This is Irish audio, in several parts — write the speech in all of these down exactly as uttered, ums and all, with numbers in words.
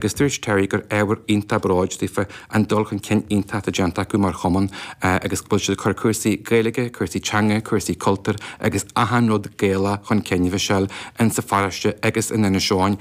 Agus dúirt Terry gur ábhar iontach bróid daofa an dul chun cinn iontach atá déanta acu mar chumann agus go bhfuil siad ag cur cúrsaí Gaeilge, cúrsaí teanga, cúrsaí cultúir agus achan rud Gaelach chun cinn, a Mhichelle, in sa pharóiste agus in Inis Eoghain.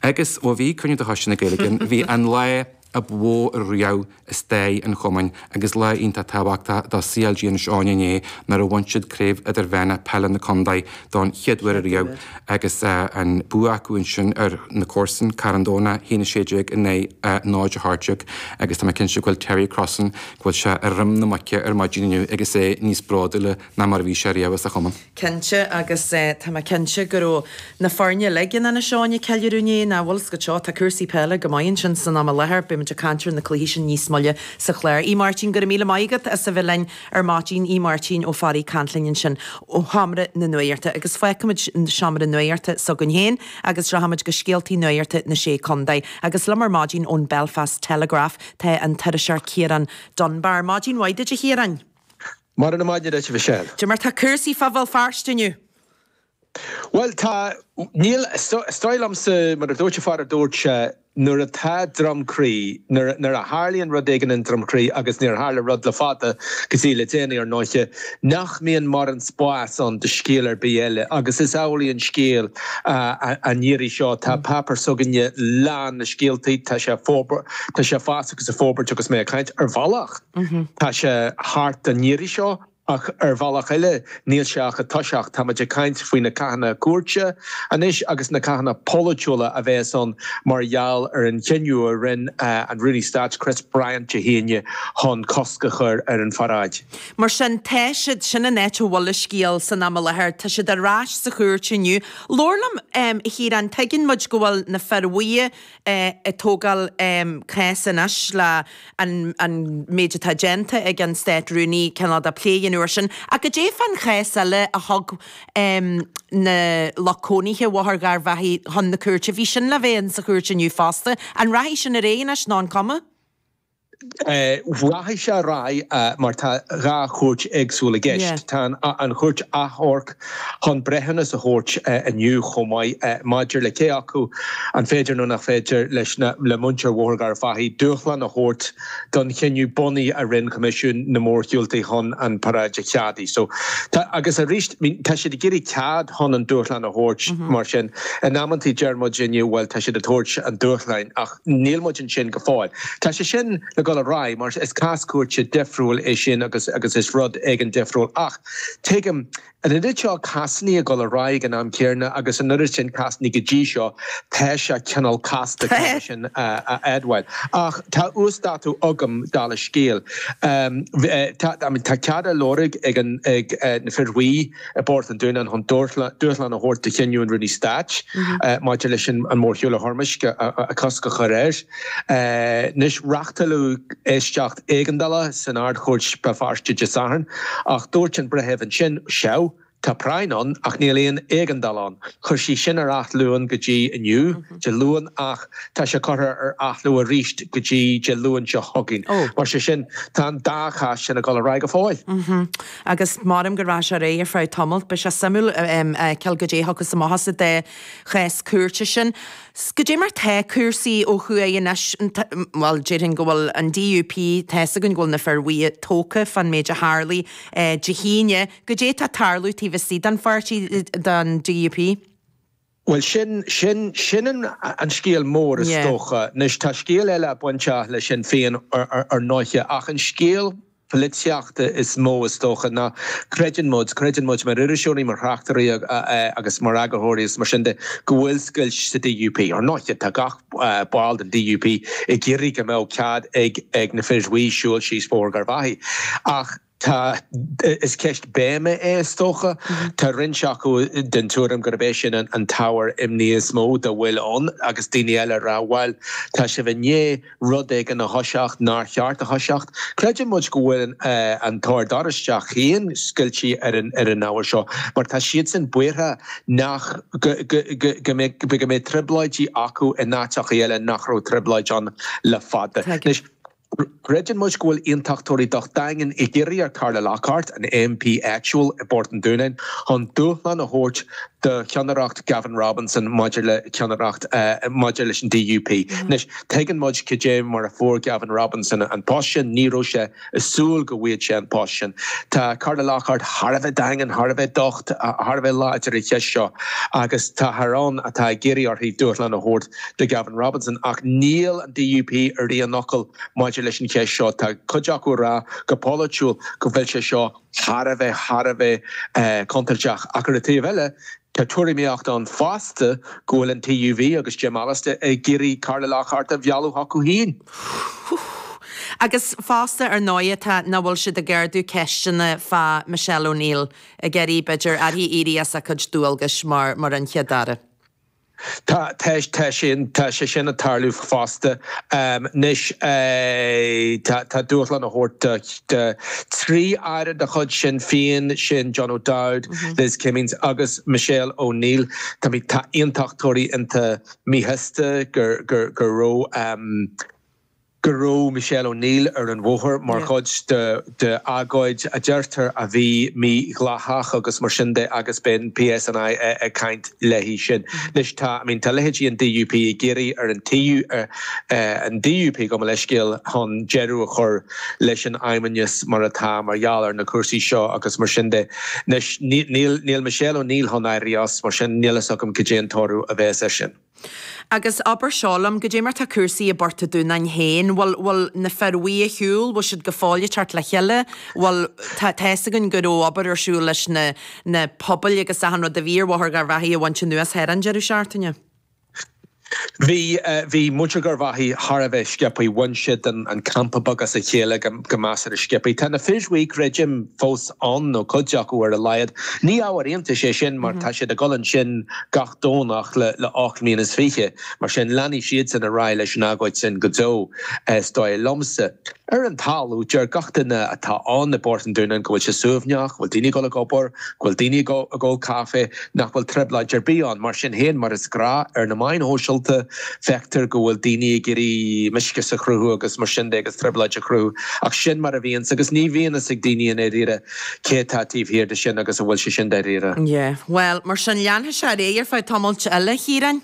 Agus ó bhí cruinniú de Choiste na Gaeilge ann, bhí an lá ab mhó riamh i stair an chumainn agus lá iontach tábhachtach do C L G Inis Eoghain inné nuair a bhain siad Craobh Idirmheánach Peile na Contae don chéad uair ariamh agus an bua acu ansin ar na comharsain, Carn Domhnach, a haon a sé déag in aghaidh náid a hocht déag agus tá mé cinnte go bhfuil Terry Crossan, go bhfuil sé ar dhroim na muice ar maidin inniu agus é níos bródúla ná mar a bhí sé riamh as a chumann. Cinnte, agus tá mé cinnte go raibh na foirne uilig in Inis Eoghain ag ceiliúradh inné, nach bhfuil 's agat seo, tá cúrsaí peile go maith ansin san am i láthair, beidh muid ag caint ar na cluichí sin níos moille sa chlár. A Mháirtín, go raibh míle maith agat as a bheith linn ar maidin, A Mháirtín Ó Fearraigh ag caint linn ansin ó sheomra na nuachta. Agus fágfaimid seomra nuachta s'againn féin agus rachaimid go scéaltaí nuachta na Sé Contae. Agus liom ar maidin ón Belfast Telegraph tá an t-iriseoir Ciarán Dunbar. Maidin mhaith duit, a Chiaráin. Móra na maidine duit, a Mhichelle. Cad é mar tá cúrsaí fá Bhéal Feirste inniu? Bhuel, tá, níl, is dóigh liomsa, mar a dúirt an fear a dúirt sé, nuair atá Droim Crí, nuair, nuair a tharlaíonn rud éigin in Droim Crí, agus níor tharla rud le fada go dtí le déanaí ar ndóiche, nach mbíonn mórán spáis ann do scéal ar bith eile. Agus is amhlaidh an scéal an iarraidh seo. Tá páipéar s'againne lán le scéaltaí, tá sé forbairt, tá sé ag fás agus ag forbairt agus mé ag caint. Ar bhealach, tá sé thart an iarraidh seo. Ach ar bhealach eile, níl sé ach ag toiseacht. Táimid ag caint faoi na cathanna cúirte anois agus na cathanna polaitiúla a bheas ann mar gheall ar an chinneadh a rinne an Rúnaí Stáit Chris Bryant Dé hAoine chun cosc a chur ar an pharáid. Mar sin, tá siad, sin an áit a bhfuil an scéal san am i láthair, tá siad ar ais sa chúirt inniu. Labhair liom, a Chiaráin, tuigeann muid go bhfuil na fir bhuí ag tógáil cás anois le an an méid atá déanta ag an Stát Rúnaí cineál de plé an uair sin. Ach cad é fán chás eile a thug na lucht cónaithe Bhóthar Gharbhachaidh chun na cúirte? Bhí sin le bheith in sa chúirt inniu fosta. An rachaidh sin ar aghaidh anois nó an cuma? Rachaidh sé ar aghaidh mar tá dhá chúirt éagsúil i gceist. Tá an Chúirt Achomhairc chun breithiúnas a thabhairt inniu chomh maith maidir le cé acu an féidir nó nach féidir leis na le muintir Bhóthar Gharbhachaidh dúshlán a thabhairt don chinneadh bunaidh a rinne Coimisiún na Mórshiúltaí chun an paráid a cheadú. So tá agus arís tá siad ag iarraidh cead chun an dúshlán a thabhairt mar sin in amantaí deir muid inniu bhuel tá siad ag tabhairt an dúshláin ach níl muid ansin go fóill. Tá sé sin le dul ar aghaidh mar is cás cúirte difriúil é sin agus agus is rud éigin difriúil ach tuigim an oiread seo cásanna ag dul ar aghaidh ag an am céanna agus an oiread sin cásanna go dtí seo tá sé cineál casta sin a admháil. Ach tá uasdátú agam dála scéil. Tá tá cead á lorg ag an ag na fir bhuí i bPort an Dúnáin chun dúshlán a thabhairt do chinneadh an Rúnaí Stáit maidir leis an mórshiúl a thoirmisc a cosc a chur air. Anois reáchtáladh éisteacht éigeandála san Ard-Chúirt Béal Feirste Dé Sathairn ach dúirt an breitheamh ansin, sea, tá práinn ann ach níl aon éigeandáil ann. Chuir sí sin ar athlú go dtí inniu, Dé Luain, ach tá sé curtha ar athlú arís go dtí Dé Luain seo chugainn. Mar sé sin, tá an dá chás sin ag dul ar aghaidh go fóill. Agus measaim go rachaidh sé ar aghaidh ar feadh tamaill. Beidh sé suimiúil a fheiceáil goidé a thiocfas amach as an dá chás cúirte sin. Goidé mar tá cúrsaí ó thuaidh anois, bhuel, déarfainn go bhfuil an D U P, tá's againn go bhfuil na fir bhuí tógtha fán méid a tharlaigh Dé hAoine. Goidé tá ag tarlú taobh istigh den pháirtí, den D U P? Bhuel, sin, sin, sin an, an scéal mór is dócha. Anois, tá scéal eile bainteach le Sinn Féin ar, ar ndóiche, ach an scéal polaitíochta is mó is dócha ná creideann muid, creideann muid mar iriseoirí, mar thráchtairí agus mar eagarthóirí is mar sin de, go bhfuil scoilt sa D U P. Ar ndóiche, tá gach ball den D U P ag iarraidh go mbeadh cead ag ag na fir bhuí siúl síos Bóthar Gharbhachaidh. Ach tá, is ceist béime é is dócha. Tá roinnt acu den tuairim gurb é sin an t-ábhar imní is mó dá bhfuil ann agus daoine eile ag rá, bhuel, tá sibh i ndiaidh rud éigin a thoiseacht nár cheart a thoiseacht. Creideann muid go bhfuil an tOrd Oráisteach féin scoilte ar an ar an ábhar seo mar tá siadsan buartha nach go go go go mbeidh go mbeidh trioblóidí acu in áiteacha eile nach raibh trioblóid ann le fada. Anois, Creideann muid go bhfuil aontachtóirí docht daingean ag iarraidh ar Carla Lockhart, an M P áitiúil i bPort an Dúnáin, chun dúshlán a thabhairt do cheannaireacht Gavin Robinson maidir le ceannaireacht maidir leis an D U P. Anois, tuigeann muid cad é mar a fuair Gavin Robinson an post sin, ní raibh sé ag súil go bhfaigheadh sé an post sin. Tá Carla Lockhart thar a bheith daingean, thar a bheith docht, thar a bheith láidir ar an cheist seo agus táthar ann atá ag iarraidh uirthi dúshlán a thabhairt do Gavin Robinson ach níl an D U P ar aon fhocal maidir leis an cheist seo. Tá cuid acu ag rá go polaitiúil go bhfuil sé seo thar a bheith thar a bheith contúirteach ach ar an taobh eile tá tuairimíocht ann fosta go bhfuil an T U V agus Jim Allister ag iarraidh Carla Lockhart a mhealladh chucu féin. Agus fosta ar ndóigh tá nach bhfuil siad ag ardú ceisteanna fá Michelle O'Neill ag iarraidh b'fhéidir uirthi éirí as a cuid dualgais mar mar an Chéad Aire. Tá tá sin tá sé sin ag tarlú fosta anois. Tá dúshlán á thabhairt do trí aire de chuid Sinn Féin, sin John O'Dowd, Liz Kimmins agus Michelle O'Neill. Tá tá aontachtóirí iontach míshásta gur gur gur raibh go raibh Michelle O'Neill ar an bhóthar mar chuid de de agóid a deirtear a bhí mídhleathach agus mar sin de agus beidh an P S N I ag caint léi sin. Anois tá I mean, tá leithéidí an D U P ag iarraidh ar an T U an D U P go leiscéal chun deireadh a chur leis an fheidhmeannas mar atá mar gheall ar na cúrsaí seo agus mar sin de. Anois níl níl Michelle O'Neill chun éirí as, mar sin níl a fhios agam cad é an toradh a bheas air sin. Agus abair seo liom, goidé mar tá cúrsaí i bPort an Dúnáin féin, bhfuil bhfuil na fir bhuí ar shiúl, bhfuil siad go fóill ag teacht le chéile, bhfuil tá tá a fhios againn go raibh obair ar siúl leis na na pubaill agus achan rud a bhí ar Bhóthar Gharbhachaidh a bhaint anuas thar an deireadh seachtaine. Bhí bhí muintir Gharbhachaidh thar a bheith sciobtha, bhain siad an an campa beag as a chéile go go measartha sciobtha. Tá na fir bhuí creidim fós ann nó cuid acu ar a laghad. Ní ábhar iontais é sin mar tá siad ag dul ansin gach Domhnach le le ocht mbliana is fiche, mar sin leanfaidh siad san ar aghaidh leis an agóid sin go deo is dóigh liomsa. Ar an talamh, deir gach duine atá ann i bPort an Dúnáin go bhfuil sé suaimhneach, go bhfuil daoine ag dul ag obair, go bhfuil daoine ag ól caife, nach bhfuil trioblóid ar bith ann. Mar sin féin, mar is gnách ar na meáin shóisialta, feictear go bhfuil daoine ag iarraidh mioscais a chruthú agus mar sin de agus trioblóid a chruthú. Ach sin mar a bhíonn agus ní bhíonn a fhios ag daoine i ndáiríre cé atá taobh thiar de sin agus an bhfuil sé sin dáiríre. Yeah, well, mar sin leanfaidh sé ar aghaidh ar feadh tamaill eile, Chiaráin.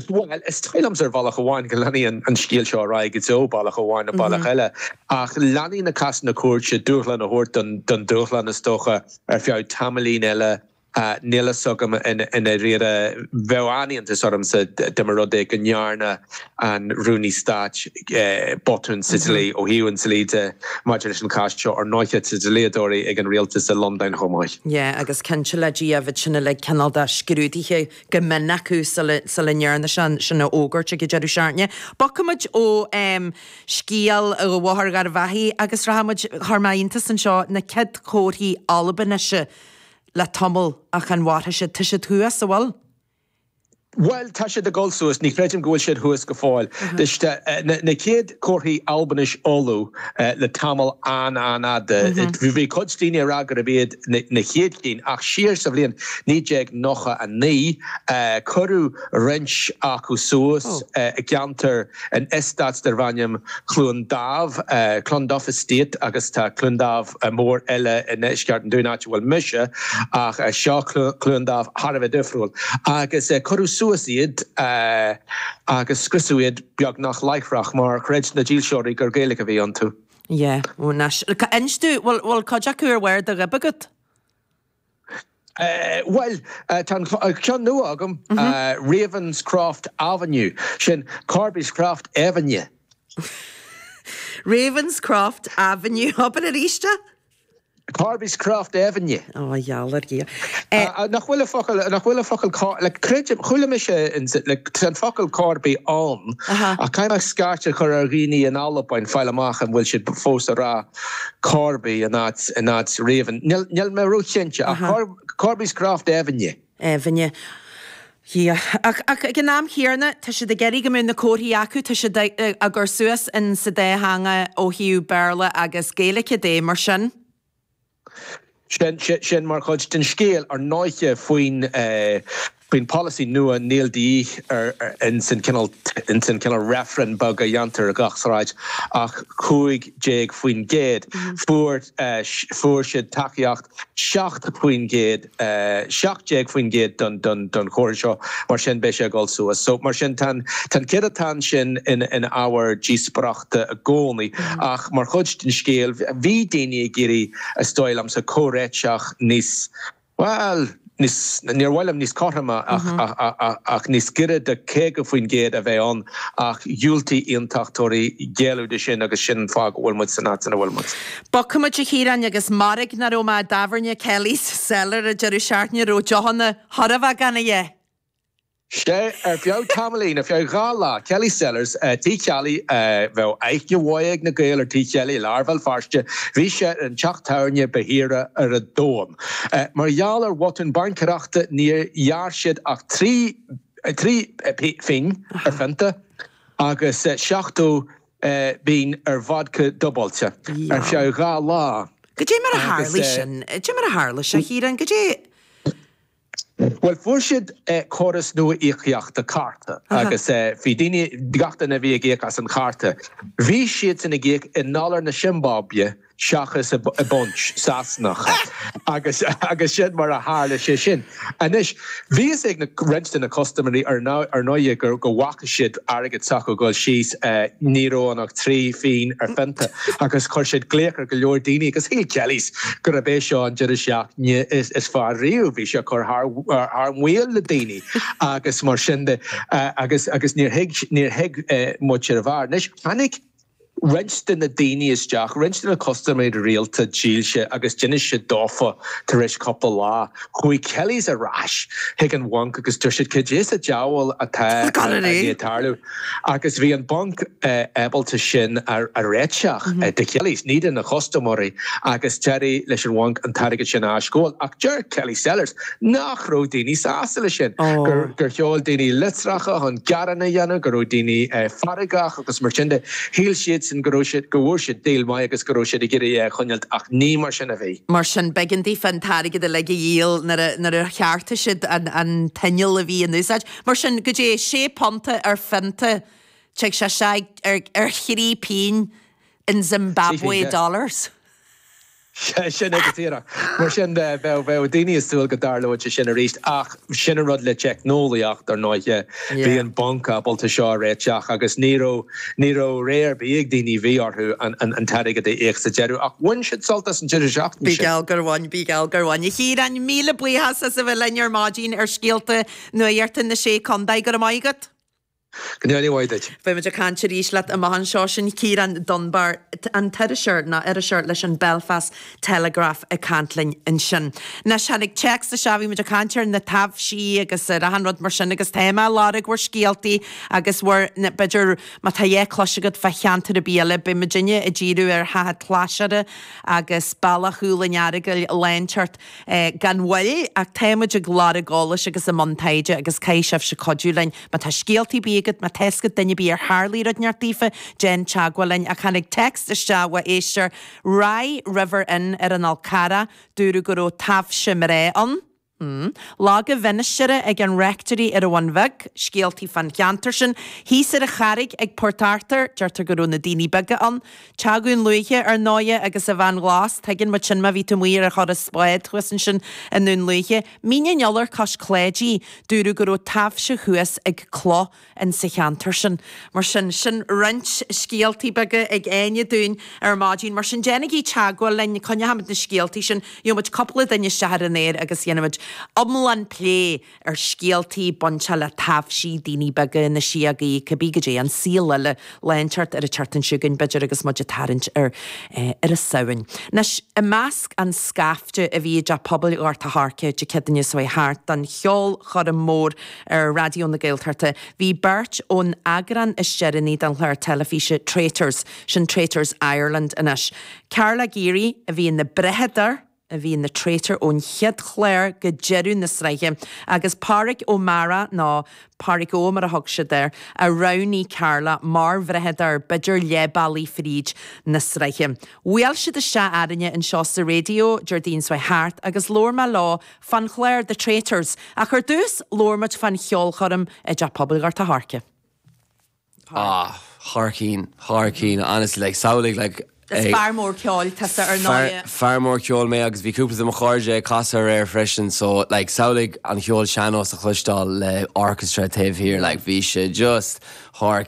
Well, is dóigh liomsa ar bhealach amháin go leanfaidh an scéal seo ar aghaidh go deo bealach amháin nó bealach eile. Ach leanfaidh na cásanna cúirte dúshlán a thabhairt don dúshlán is dócha ar feadh tamaillín eile. Níl a fhios agam i ndáiríre, bheadh an-iontas ormsa dá mba rud é go ndearna an Rúnaí Stáit botún sa dlí ó thaobh an dlí de maidir leis an chás seo. Ar ndóigh tá dlíodóirí ag an rialtas i Londain chomh maith. Yeah, agus cinnte le Dia bheadh sin uilig cineál de scrúdaithe go mion acu sula sula ndearna sin sin a fhógairt ag an deireadh seachtaine. Bogfaimid ó um, scéal Bhóthar Gharbhachaidh agus rachaimid chuir mé iontas anseo na chéad chomharthaí Albainise le tamall ach an mhairfidh siad tá siad thuas an bhfuil? Well, tá siad ag dul suas, ní chreidim go bhfuil siad thuas go fóill. Na chéad chomharthaí Albainis Uladh le tamall an-an-fhada. Bhí cuid daoine ag rá gurb iad na chéad cinn ach siar sa bhliain naoi déag nócha a naoi cuireadh roinnt acu suas i gceantar in eastát darb ainm Cluain Dámh, Clonduff Estate agus tá Cluain Dámh mór eile i ndeisceart an Dúin áit a bhfuil mise ach seo Cluain Dámh thar a bheith difriúil. Agus cuireadh suas iad agus scriosadh iad beagnach láithreach mar chreid na dílseoirí gur Gaeilge a bhí iontu. Yeah, ó anois. Inis domh, bhfuil bhfuil cuid acu ar bharr do ghoib agat? Bhuel, tá an ceann nua agam, Ravenscroft Avenue, sin Corby's Croft Avenue. Ravenscroft Avenue, abair arís é? Corby's Croft Avenue. Ó gheall ar Dhia. Nach bhfuil focal nach bhfuil focal le creidim chuala mise le an focal Corby ann ach caithfidh mé scairt a chur ar dhaoine in Albain fáil amach an bhfuil siad fós ag rá Corby in áit in áit Raven. Níl mé róchinnte ach Corby's Croft Avenue. Avenue. Yeah. Ach, ach ag an am chéanna tá siad ag iarraidh go mbeadh na comharthaí acu, tá siad á gcur suas in sa dá theanga ó thaobh Béarla agus Gaeilge de mar sin. Sin, sin mar chuid den scéal ar ndóigh faoin Faoin polasaí nua níl de dhíth ar ins an cineál ins an cineál reifreann beag a dhéantar ar gach sráid ach cúig déag faoin gcéad. Fuair fuair siad tacaíocht seacht faoin gcéad seacht déag faoin gcéad don don don chomhartha seo mar sin beidh sé ag dul suas. So mar sin tá an tá an céadatán sin ina ina ábhar díospóireachta i gcónaí ach mar chuid den scéal bhí daoine ag iarraidh is dóigh liomsa comhréiteach níos bhuel níos níor mhaith liom níos cothroime ach ach níos giorra do caoga faoin gcéad a bheith ann ach dhiúltaigh aontachtóirí géilleadh de sin agus sin an fáth go bhfuil muid san áit ina bhfuil muid. Bogfaimid a Chiaráin agus mairg nach raibh mé i dtábhairne Kelly's Cellar an deireadh seachtaine raibh deochanna thar a bheith gan a dhath. Sea, ar feadh tamaillín, ar feadh dhá lá, Kelly's Cellars, Tigh Kelly, bheadh aithne mhaith ag na Gaeil ar Tigh Kelly i lár Bhéal Feirste, bhí sé ar an teach tábhairne ba shaoire ar an domhan. Mar gheall ar bhotún baincéireachta níor ghearr siad ach trí trí phingin ar phionta agus seachtó pingin ar vodka dúbailte ar feadh dhá lá. Goidé mar a tharlaigh sin? Goidé mar a tharla sé, a Chiaráin? Goidé. Bhuel, fuair siad córas nua íocaíochta cárta agus bhí daoine, gach duine a bhí ag íoc as an chárta, bhí siadsan ag íoc i ndollar na Siombáibe seachas i bpunt Sasanach agus agus sin mar a tharla sé sin. Anois, bhí fhios ag na roinnt de na custaiméirí ar ar ndóigh go go bhfaca siad airgead s'acu ag dul síos, ní raibh ann ach trí phingin ar phionta agus chuir siad glaoch ar go leor daoine agus shíl Kelly's gurb é seo an deireadh seachtaine is fearr riamh. Bhí sé ag cur thar thar maoil le daoine agus mar sin de agus agus níor thuig níor thuig muid ar a bharr. Anois tháinig roinnt de na daoine isteach, roinnt de na custaiméirí rialta dílse agus d'inis siad dófa tar éis cúpla lá. Chuaigh Kelly's ar ais chuig an bhanc agus dúirt siad cad é sa diabhal atá ag tarlú agus bhí an banc ábalta sin a réiteach do Kelly's, ní do na custaiméirí agus d'éirigh leis an bhanc an t-airgead sin a aisghabháil. Ach deir Kelly Cellars nach raibh daoine sásta leis sin, gur sheol daoine litreacha chun gearán a dhéanamh, go raibh daoine feargach agus mar sin de. Shíl siadsan go raibh siad, go bhfuair siad deal maith agus go raibh siad ag iarraidh é a choinneáilt ach ní mar sin a bhí. Mar sin, b'éigean daofa an t-airgead uilig a dhíol nuair a cheartaigh siad an t-inneall a bhí in úsáid. Mar sin, go dtí sé punta ar phionta, tig sé sé ar thrí pingin in Zimbabwe dollars. Sin é go díreach. Mar sin de, bheadh bheadh daoine ag súil go dtarlóidh sé sin arís ach sin an rud le teicneolaíocht ar ndóighe. Bhí an banc ábalta seo a réiteach agus ní raibh ní raibh rogha ar bith ag daoine, bhí orthu an an an t-airgead a íoc sa deireadh ach bhain siad sult as an deireadh seachtaine Bí sin. geall gur bhain, bí geall gur bhain. A Chiaráin, míle buíochas as a bheith linn ar maidin ar Scéalta Nuachta na Sé Contae. Go raibh maith agat. Go ndéana mhaith duit. Beidh muid ag caint arís leat amach anseo. Sin Ciarán Dunbar, an t-iriseoir, nó iriseoir leis an Belfast Telegraph ag caint linn ansin. Anois, tháinig téacs isteach, bhí muid ag caint ar na taibhsí agus ar achan rud mar sin agus tá mé ag lorg bhur scéaltaí agus bhur, b'fhéidir, má tá a dhath cloiste agat fá cheantar ar bith eile, beidh muidinne ag díriú ar Theach an tSlaisire agus Bealach Chúil an Earagail lá inteacht gan mhoill ach tá muid ag lorg eolais agus i mbun taighde agus caithfidh sibhse cuidiú linn. Má tá scéaltaí ar bith agat, má tá fhios agat duine ar bith ar tharlaigh rud inteacht daofa, déan teagmháil linn. Ach tháinig text isteach ó éisteoir, Rye River Inn ar an Fhál Carrach, dúradh go raibh taibhse mná ann. Log an Mhinistéara ag an Rectory ar an Bhun Bheag, scéaltaí fán cheantar sin. Thíos ar an Charraig ag Port Arthur, deirtear go raibh na daoine beaga ann. Teach Dhún Lúiche, ar ndóighe, agus an Bhean Ghlas, tuigeann muid sin má bhí tú amuigh ar thuras báid thuas ansin i nDún Lúiche. Mín an Iolair cois Cláidí, dúradh go raibh taibhse thuas ag cloch in sa cheantar sin. Mar sin, sin roinnt scéaltaí beaga ag Áine dúinn ar maidin. Mar sin, déanaigí teagmháil linn, coinneochaimid na scéaltaí sin, gheobhaimid cúpla duine isteach ar an aer agus dhéanfaimid iomlán plé ar scéaltaí bainteach le taibhsí, daoine beaga, na síogaí, cibé goidé, an saol eile, lá inteacht ar an tseachtain seo chugainn, b'fhéidir, agus muid ag tarraingt ar ar an Samhain. Anois, i measc an scaifte a bhí i dTeach Pobail Ghort a' Choirce Dé Céadaoine seo chuaigh thart don cheolchoirm mhór ar Raidió na Gaeltachta, bhí beirt ón eagrán is deireanaí den chlár teilifíse Traitors, sin Traitors Ireland anois. Carla Geary, a bhí ina brathadóir a bhí ina traitor ón chéad chlár go deireadh na sraithe, agus Páraic Ó Meara, nó Páraic Ó mar a thug siad air, a roghnaigh Carla mar bhrathadóir, b'fhéidir leath bealaigh fríd na sraithe. Bhuail siad isteach orainne anseo sa raidió Déardaoin seo thart agus labhair mé leo fán chlár The Traitors, ach ar dtús labhair muid fán cheolchoirm i dTeach Pobail Ghort a' Choirce. Ah, thar cinn, thar cinn, honestly, like, samhlaigh, like, Is fear mór ceoil tusa ar ndóigh. Fear mór ceoil mé agus bhí cúpla de mo chairde ag casadh aréir freisin so like samhlaigh an cheol sean-nós a chloisteáil le orchestra taobh thiar like bhí sé just thar